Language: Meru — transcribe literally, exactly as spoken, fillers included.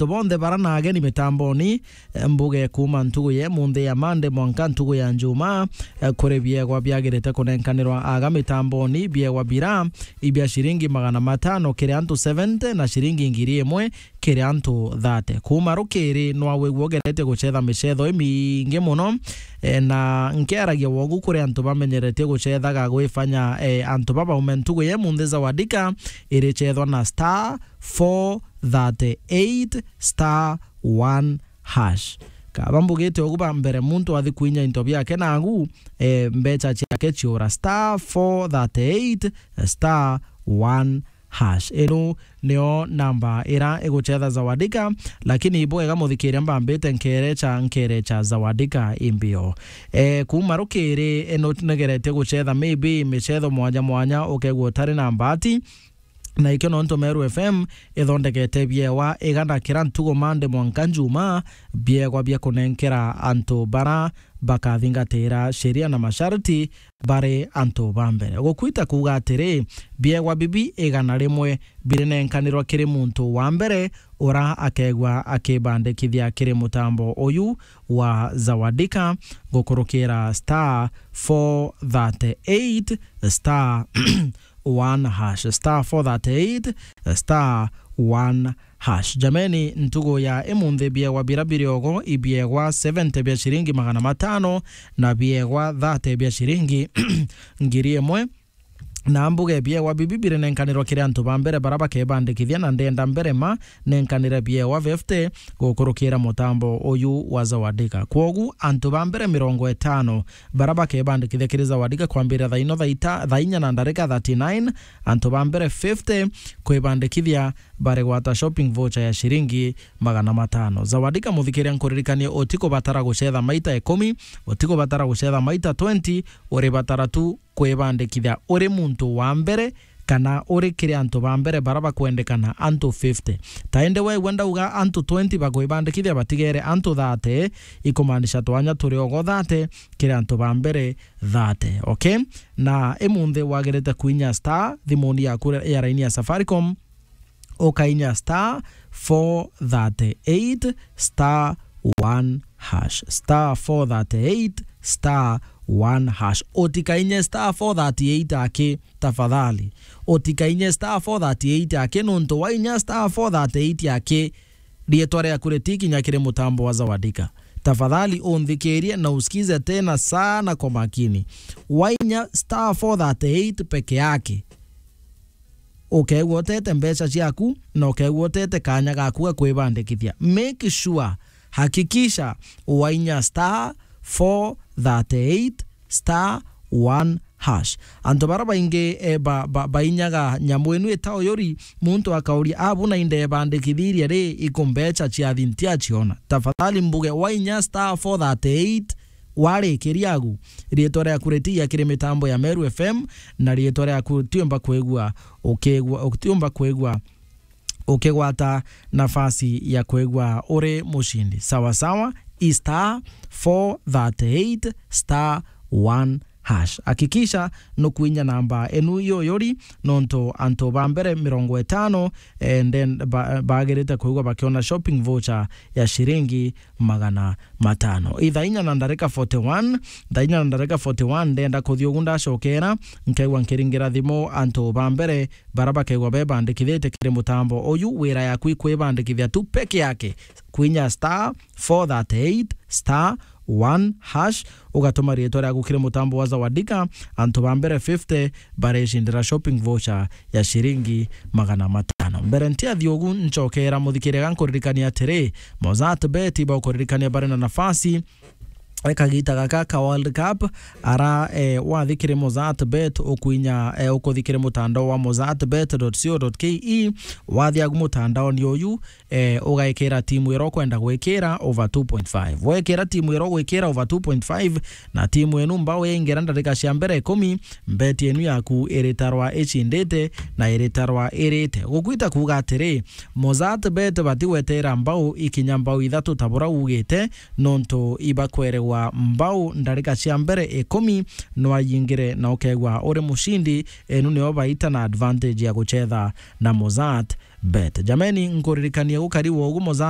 antu bonthe bara na ageni mitamboni, eh, mbuge kuuma ntugu ya munthi ya Monday mwanka ntugu ya Njumaa, eh, kuri biegwa biagirite kunenkanirwa aga mitamboni, biegwa bira ibia ciringi magana matano kiri antu seventy na ciringi ngiri imwe kiri antu thate. Kuuma rukiri, nwawigua ugeretie gucetha micetho imingi muno, eh, na nkiaragia wogu kuri antu bamenyeretie gucethaga gwifanya, eh, antu babaume ntugu ye munthi Zawadika iricethwa na star four thirty eight star one hash. Kaba mbugite ugu ba mbere, muntu athi kwinya into biake nagu, eh, mbecha ciake ciura star four thirty eight star one hash. Ino nio namba ira igucetha Zawadika, lakini ibwega muthikiria mbambite nkerecha, nkerecha Zawadika imbio. Eh, kuuma rukiri, ino negeretie gucetha maybe micetho mwanya mwanya, ukegua utari na mbati, na ikio nontu Meru F M ithondekete biewa igana kira ntugu Monday mwanka Njumaa, biegwa bia kunenkera antu bara bakathingatira sheria na masharti bari antu ba mbere. Gukwita kuuga atiri, biegwa bibi igana rimwe birinenkanirwa kiri muntu wa mbere ura akegua akibandikithia kiri mutambo uyu wa Zawadika gukurukira star four thirty eight star one hash, star four thirty eight star one hash. Jameni, ntugu ya imunthi biegwa bira biriogo ibiegwa seventy bia ciringi magana matano na biegwa thate bia ciringi ngiri imwe. Na mbuge biegwa bibi birinenkanirwa kiri antu ba mbere bara bakebandikithia, na ndenda mbere ma nenkanire biegwa fifty gukurukira mutambo uyu wa Zawadika. Kwogu antu ba mbere mirongo itano bara bakebandikithia kiri Zawadika kwambirira thaa ino thaa ita-, thaa inya na ndarika thirty-nine, antu ba mbere fifty kwibandikithia baregwata shopping voucher ya ciringi magana matano. Zawadika muthikiria nkuririkanie, utikubatara gucetha maita ikumi, utikubatara gucetha maita twenty, uribatara tu kwibandikithia uri muntu wa mbere, kana uri kiri antu ba mbere bara bakwendekana, antu fifty. Ta indi wegua ndauga antu twenty bakwibandikithia batigere antu thate, ikumaanisha twanya turi ogo thate kiri antu ba mbere thate, okay? Na imunthi wagirite kwinya star thimuni yaku ya raini ya Safaricom, ukainya star four thirty eight star one hash, star four thirty eight star one hash. Utikainye star four thirty eight aki, tafadhali. Utikainye star four thirty eight aki, nontu wainya star four thirty eight aki, rietwa riaku ritikinya kiri mutambo wa Zawadika. Tafadhali unthikirie na usikize tena sana kwa makini. Wainya star four thirty eight peke yake, ukegua utete mbeca ciaku na ukegua utete kanya gaku ga kwibandikithia. Make sure, hakikisha wainya star four thirty eight star one hash. Antu bara baingi, eh, ba, ba, bainyaga nyamu inu ita uyuri, muntu akauria, "Abu na indebandikithirie ri, iku mbeca ciathi ntiaciona?" Tafadhali mbuge wainya star four thirty eight warikiria agu, rietwa riaku ritiya kiri mitambo ya Meru F M, na rietwa riaku ritiumba kwigua ukigua, utiumba kwigua ukigwata nafasi ya kwigua uri mucindi. Sawa sawa, i star four thirty eight star one hash. Hakikisha nukwinya namba enu yoyori, nontu antu ba mbere mirongo itano, eh, then ba-, bagirite kwigua bakiona shopping voucher ya ciringi magana matano. Ithaa inya na ndarika forty one, thaa inya na ndarika forty one, ndenda kuthi ugu ndacokera, nkaigua nkiringira thimu antu ba mbere bara bakaigua bebandikithitie kiri mutambo uyu. Wira yaku ikwibandikithia tu peke yake, kwinya star four thirty eight star one hash, ugatuma riitwa riaku kiri mutambo wa Zawadika. Antu ba mbere fifty barecindira shopping voucher ya ciringi magana matano. Mbere ntiathi ugu, ncokera muthikiria gankuririkania atiri, Mozart Bet ibaukuririkania bari na nafasi e kagita gaka ka World Cup, ara, eh, wathi kiri Mozart Bet ukwinya, eh, ukuthi kiri mutandao wa mozart bet dot co dot ke. Wathi agu mutandaoni uyu, eh, ugekira timu ira ukwenda gwikira over two point five. Wekira timu ira ugwikira over two point five, na timu inu mbao yaingira ndarika cia mbere ikumi, mbeti inu yaku iritarwa icindite na iritarwa irite. Gukwita kuuga atiri, Mozart Bet batigwetera mbao ikinya mbao ithatu ta bura ugite, nontu ibakweregwa mbao ndarika cia mbere ikumi, nwayingire na ukegwa uri mucindi. Enu nio baita na advantage ya gucetha na Mozart Bet. Jameni, nkuririkania gukari wogu Mozart